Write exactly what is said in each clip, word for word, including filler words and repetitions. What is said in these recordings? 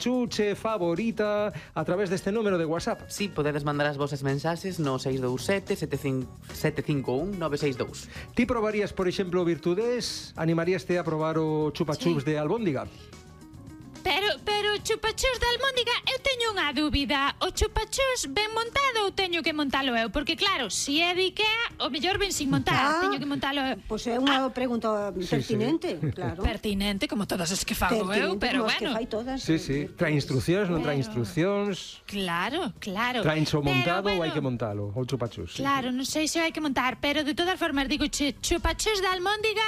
chupachuche favorita a través deste número de WhatsApp. Si, sí, podedes mandar as vosas mensaxes no seis dous sete, sete cinco un, nove seis dous. Ti probarías, por exemplo, Virtudes? Animaríaste a probar o chupachups sí. de albóndiga? Pero, pero chupachus de albóndiga, eu teño unha dúbida. O chupachus ben montado ou teño que montalo eu? Porque claro, se é de Ikea, o mellor ben sin montar, ah, teño que montalo eu. Pois é unha ah. pregunta pertinente, sí, sí. claro. Pertinente, como todas as que fago eu, pero bueno. Que fai todas. Sí, sí, trae instruccións, non trae instruccións. Claro, claro. Traen xo montado ou hai que montalo, o chupachus. Claro, non sei se hai que montar, pero de todas formas digo, che, chupachus de albóndiga...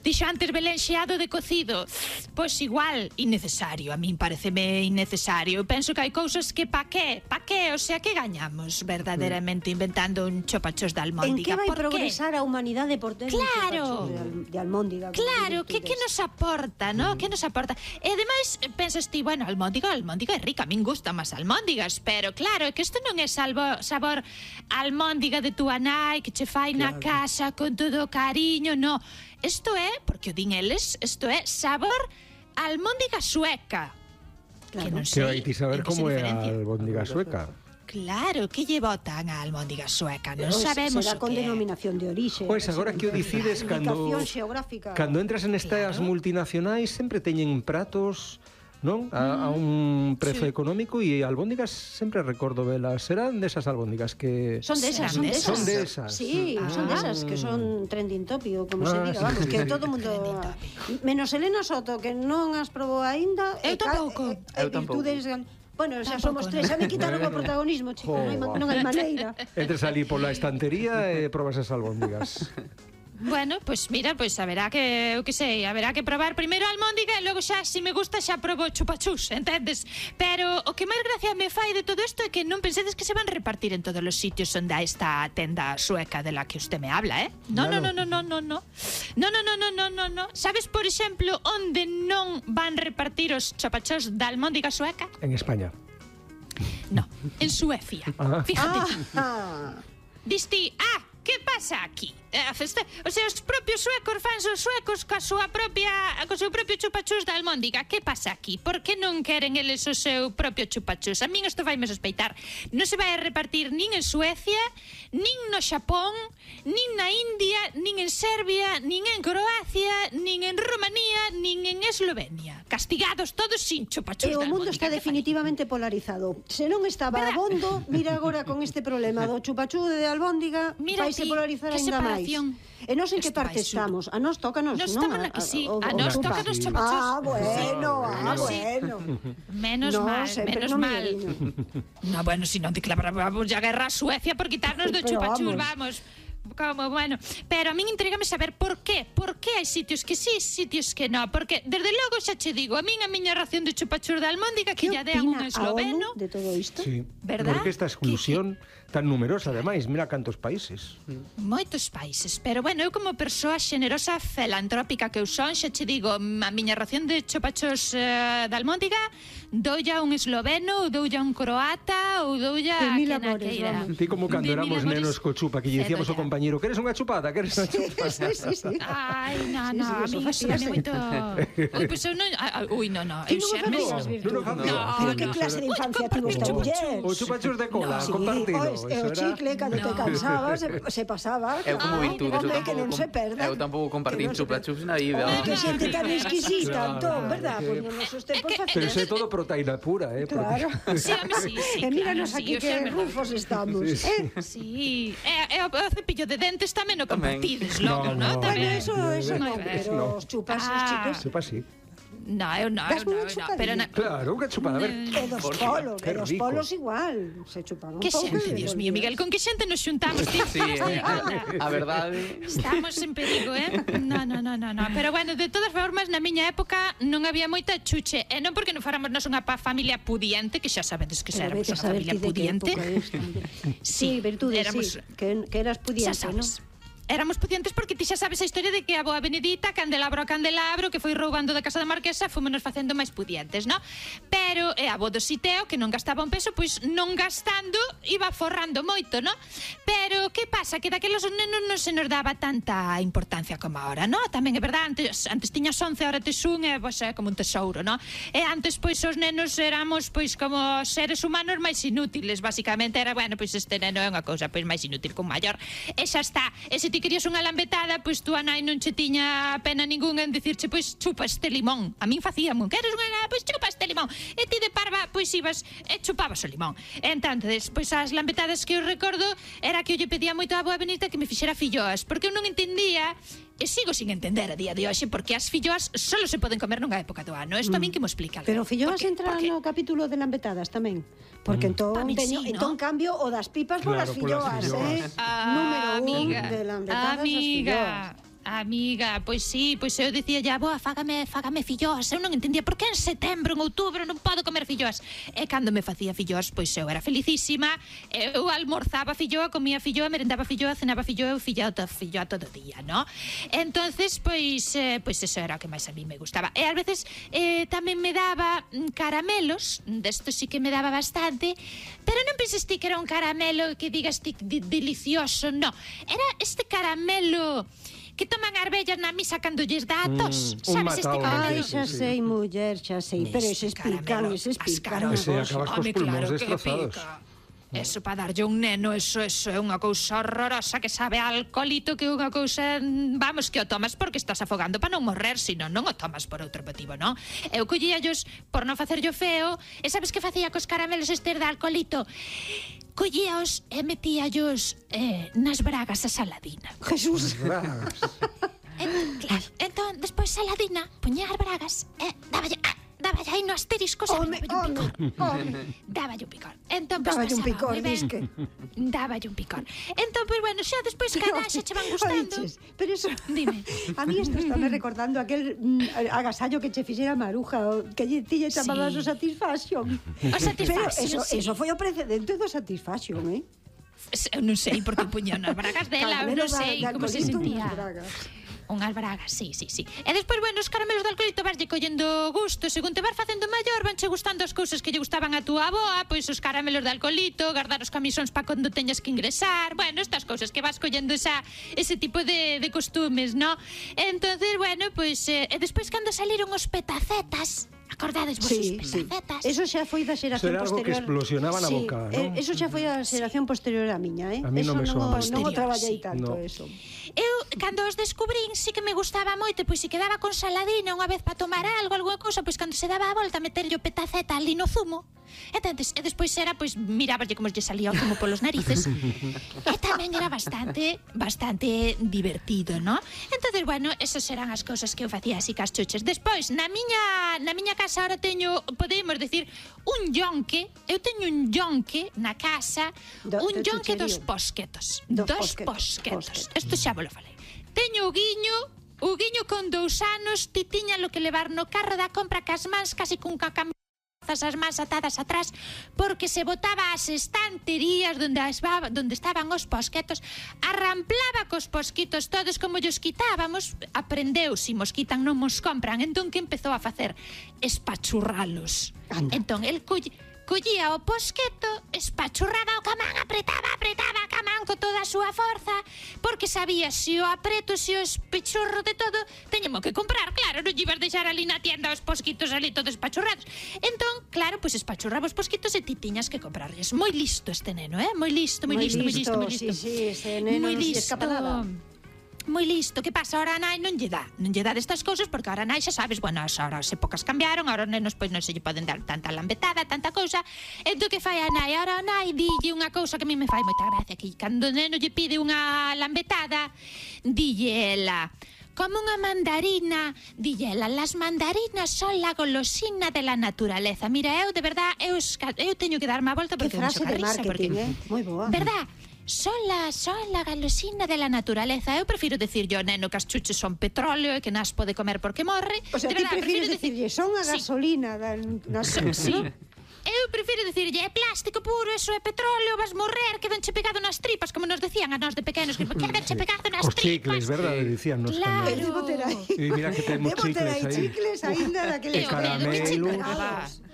Dixo antes Belén xeado de cocido. Pois igual, innecesario. A min pareceme innecesario. Penso que hai cousas que pa qué? Pa qué? O sea, que gañamos verdadeiramente inventando un chupachos de almóndiga? En que vai progresar a humanidade por ter claro. un chupachos de, al de almóndiga? Claro, que, que nos aporta, ¿no? Mm. Que nos aporta? E ademais, pensas ti, bueno, almóndiga, almóndiga é rica. A min gusta máis almóndigas, pero claro, é que isto non é salvo, sabor almóndiga de túa nai que che fai claro. na casa con todo o cariño, no. Isto é, porque o din eles, isto é sabor almóndiga sueca. Claro. Que non sei. Que hai ti saber como é a albóndiga sueca. Claro, que lle botan a almóndiga sueca, non sabemos será o con que denominación de orixe. Pois agora que o decides cando cando entras en estas claro. multinacionais sempre teñen pratos, non? A, a un prezo sí. económico e albóndigas sempre recordo velas. Serán desas albóndigas que... Son desas, son desas. Son desas. Sí, ah. son desas que son trending topic, ou como ah, se diga, vamos, sí. que todo o mundo... Menos Elena Soto, que non as probou aínda. Eu tampouco. Eu tampouco. Bueno, xa somos tres, xa me quitaron o protagonismo, chico, non hai, non hai maneira. Entres ali pola estantería e probas as albóndigas. Bueno, pois pues mira, pois pues haberá que, eu que sei, haberá que probar primeiro a almóndiga e logo xa, se me gusta, xa probo chupachus, entendes? Pero o que máis gracia me fai de todo isto é que non pensedes que se van repartir en todos os sitios onde há esta tenda sueca de la que usted me habla, eh? No, no, no, no, no, no, no. No, no, no, no, no, no, no. Sabes, por exemplo, onde non van repartir os chupachus da almóndiga sueca? En España. No, en Suecia. Ah. Fíjate. Ah. Disti, ah, que pasa aquí? O sea, os propios suecos fans os suecos coa súa propia co seu propio chupachus da almóndiga. Que pasa aquí? Por que non queren eles o seu propio chupachus? A min isto vaime sospeitar. Non se vai a repartir nin en Suecia, nin no Xapón, nin na India, nin en Serbia, nin en Croacia, nin en Rumanía, nin en Eslovenia. Castigados todos sin chupachus da almóndiga. E o mundo está definitivamente polarizado. Se non estaba abondo, mira agora con este problema do chupachus de albóndiga, vaise polarizar ainda máis. E nós en que parte estamos? A nós tócanos, non? Nos tocan aquí, sí. A nos tócanos chupachus. Ah, bueno, ah, bueno. Menos mal, menos mal. No, bueno, si non declaramos a guerra a Suecia por quitarnos do chupachus, vamos. Como, bueno, pero a min intrigame saber por qué, por qué hai sitios que sí, sitios que no, porque desde logo xa che digo, a min a miña ración de chupachur de almóndiga que lla dean un esloveno de todo isto? Sí, verdad? Porque esta exclusión tan numerosa, ademais, mira cantos países. Moitos países, pero bueno, eu como persoa xenerosa filantrópica que eu son, xa che digo, a miña ración de chupachos uh, de almóndiga doulla un esloveno, ou doulla un croata, ou doulla a quen a queira. Ti como cando éramos nenos co chupa, que lle dicíamos ao compañero, queres unha chupada, queres unha chupada? Sí, sí, sí. Ai, no, no, a mí iso é moito... Ui, pois eu non... Ui, no, no, eu xa me... Pero que clase de infancia tivo esta muller? O chupachos de cola, compartido. E o chicle, cando te cansabas, se pasaba. Eu como virtudes, eu que non se perda. Eu tampouco compartín chupachus na vida. Que xente tan exquisita, entón, verdad? Pois nos nosos tempos... Pero é todo proteína pura, eh? Claro. Sí, sí, sí. E míranos aquí que rufos estamos. Sí. E o cepillo de dentes tamén o compartides logo, non? Bueno, eso non, pero os chupas, os chicles... Chupas, sí. No, eu non, eu non, no, pero na... Claro, unha chupada, a ver. E dos polos, e dos polos igual, se chupaban un pouco. Que xente, Dios mío, Miguel, con que xente nos xuntamos, tío? Sí, eh, a verdade. Estamos en perigo, eh? No, no, no, no, no. Pero bueno, de todas formas, na miña época non había moita chuche, e non porque non fáramos nós unha familia pudiente, que xa sabedes que éramos unha familia pudiente. Sí, virtudes, sí, que eras pudiente, non? éramos pudientes porque ti xa sabes a historia de que a boa Benedita, candelabro a candelabro, que foi roubando da casa da marquesa, fomos facendo máis pudientes, non? Pero e a bo do Siteo, que non gastaba un peso, pois non gastando iba forrando moito, non? Pero que pasa? Que daquelos os nenos non se nos daba tanta importancia como ahora, non? Tamén é verdade, antes, antes tiñas once, ahora tes un, e pois é como un tesouro, non? E antes, pois, os nenos éramos, pois, como seres humanos máis inútiles, basicamente era, bueno, pois este neno é unha cousa, pois, máis inútil que un maior, e xa está. E se ti querías unha lambetada, pois tú a nai non che tiña pena ninguna en dicirche, pois chupa este limón. A min facíamos, queres unha, pois chupa este limón. E ti de parva, pois ibas e chupabas o limón. Entonces, pois as lambetadas que eu recordo era que eu lle pedía moito a boa Benita que me fixera filloas, porque eu non entendía, e sigo sin entender a día de hoxe, porque as filloas solo se poden comer nunha época do ano. Isto a min que mo explica. Pero filloas entra no capítulo de lambetadas tamén. Porque entón, teño, sí, entón cambio o das pipas claro, polas filloas, eh? Ah, Número un amiga, de lambetadas as amiga, filloas. Amiga, pois sí, pois eu dicía ya, boa, fágame, fágame filloas. Eu non entendía por que en setembro, en outubro non podo comer filloas. E cando me facía filloas, pois eu era felicísima. Eu almorzaba filloa, comía filloa, merendaba filloa, cenaba filloa, filloa, filloa todo o día, ¿no? Entonces, pois, eh, pois eso era o que máis a mí me gustaba. E ás veces eh, tamén me daba caramelos, desto sí que me daba bastante, pero non penses ti que era un caramelo que digas ti delicioso, no. Era este caramelo que toman as vellas na misa cando lles dá a tos. Mm, sabes este caramelo? Ai, xa sei, muller, xa sei. Pero eses pican, eses pican. Ese acabas cos pulmóns destrozados. Eso para darlle un neno, eso, eso é unha cousa horrorosa que sabe a alcoholito, que é unha cousa, vamos, que o tomas porque estás afogando para non morrer, sino non o tomas por outro motivo, non? Eu collía ellos por non facerllo feo, e sabes que facía cos caramelos estes de alcoholito? Collíaos e metíallos eh, nas bragas a Saladina. Jesús. Bragas. Entón, claro, entón, despois Saladina puñía as bragas e dáballe... Ah, dáballe aí no asterisco, Home, dáballe un home, picor. home. Dáballe un picor. Entón, pues, Dáballe un pasaba picor, moi ben. disque. Dáballe un picor. Entón, pues, bueno, xa despois cada xa che van gustando. Oiches, pero eso... Dime. A mí isto está me recordando aquel mm, agasallo que che fixera Maruja, o que lle ti lle chamabas Sí. o Satisfaction. O Satisfaction, Pero eso, sí. eso foi o precedente do Satisfaction, eh? Eu non sei porque puña nas bragas dela, non sei como se sentía. Unhas bragas, sí, sí, sí. E despois, bueno, os caramelos de alcoholito vaslle collendo gusto, según te vas facendo maior, vanche gustando as cousas que lle gustaban a túa aboa, pois os caramelos de alcoholito, guardar os camisóns para cando teñas que ingresar, bueno, estas cousas que vas collendo esa, ese tipo de, de costumes, ¿no? Entonces, bueno, pois, eh, e despois cando saliron os petacetas, acordades vos Sí, os sí. petacetas? Eso xa foi da xeración Será algo posterior. que explosionaba na Sí, boca, eh, non? Eso xa foi a xeración posterior á miña, eh? A mí eso non me soa. non, o- non o Posterior, traballei sí. tanto, No. eso. Eu, cando os descubrín, sí que me gustaba moito, pois se quedaba con Saladina unha vez para tomar algo, alguna cousa, pois cando se daba a volta meterlle o petaceta ali no zumo, e, tantes, e despois era, pois, miráballe como lle salía o zumo polos narices, e tamén era bastante, bastante divertido, ¿no? Entonces, bueno, esas eran as cousas que eu facía así cas chuches. Despois, na miña, na miña casa ahora teño, podemos decir, un yonque, eu teño un yonque na casa, Do- un do yonque dos chucherío. posquetos, Dos dos posquetos, posquetos. posquetos. Isto xa vos lo falei. Teño o guiño, o guiño con dous anos, ti tiña lo que levar no carro da compra cas mans, casi cun cacam as mans atadas atrás, porque se botaba as estanterías donde, as, donde estaban os posquetos, arramplaba cos posquitos todos como llos quitábamos, aprendeu, si mos quitan non mos compran, entón que empezou a facer? Espachurralos. Anda. Entón, el coll, collía o posqueto, espachurraba o camán, apretaba, apretaba a camán con toda a súa forza, porque sabía se o apreto, se o espechurro de todo, teñemos que comprar, claro, non lle ibas deixar ali na tienda os posquitos ali todos espachurrados. Entón, claro, pois pues espachurraba os posquitos e ti tiñas que comprarles. Moi listo este neno, eh? Moi listo, moi Moi listo, moi listo, moi listo, listo. sí, sí, ese neno Moi non se escapa nada. Moi listo, que pasa? Ahora a nai non lle dá Non lle dá destas cousas porque ahora a nai xa sabes, bueno, as horas épocas cambiaron, ahora os nenos pois non se lle poden dar tanta lambetada, tanta cousa. Entón que fai a nai? Ahora a nai dille unha cousa que a mí me fai moita gracia, que cando o neno lle pide unha lambetada, dille ela: como unha mandarina, dille ela, las mandarinas son la golosina de la naturaleza. Mira, eu de verdad, eu, eu teño que darme a volta Que porque eu frase me de choca risa, marketing, porque, eh? Moi boa. verdad? Son la, son la galosina de la naturaleza. Eu prefiro decir yo, neno, que as chuches son petróleo e que nas pode comer porque morre. O sea, De ti verdad, prefires prefiro decirlle, son a Sí. gasolina da... Na... So- sí. ¿no? eu prefiro dicirlle, é plástico puro, eso é petróleo, vas morrer, quedanche pegado nas tripas, como nos decían a nós de pequenos, que quedanche pegado nas Os tripas. chicles, verdade, dicían nos Claro. cando. Debo ter aí. E mira que temos Debo ter chicles aí aí. chicles aínda daqueles E caramelos,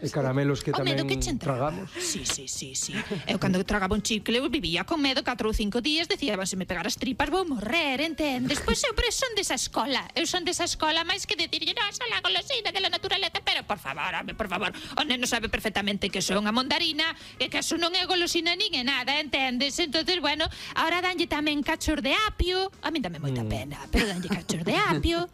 e caramelos que O medo tamén que che entraba. tragamos. Sí, sí, sí, sí. Eu cando tragaba un chicle eu vivía con medo catro ou cinco días, decía, se me pegar as tripas vou morrer, entendes? Pois eu pero son desa escola. Eu son desa escola máis que decirlle, no, esa la golosina de la naturaleza, pero por favor, home, por favor, o neno sabe perfectamente que son unha mandarina e que eso non é golosina nin é nada, entendes? Entonces, bueno, ahora danlle tamén cachos de apio, a min dame moita pena, pero danlle cachos de apio.